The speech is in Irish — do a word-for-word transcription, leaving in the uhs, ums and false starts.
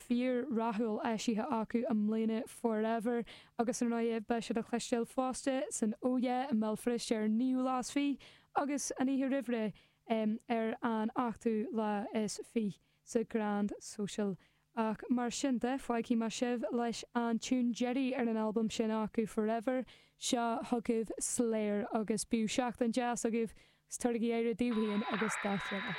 fíor-rathúil eisithe acu i mbliana Forever agus ar ndóigh beidh siad le cloisteáil fosta san Oh Yeah i mBéal Feirste ar naoú lá is fiche agus an oíche roimh ré um, ar an ochtú lá is fiche sa Grand Social. Ach mar sin de fágfaidh mé sibh leis an tune deiridh ar an albam sin acu Forever seo chugaibh Slayer agus bíodh seachtain deas agaibh tabhair aire daoibh féin agus dá chéile.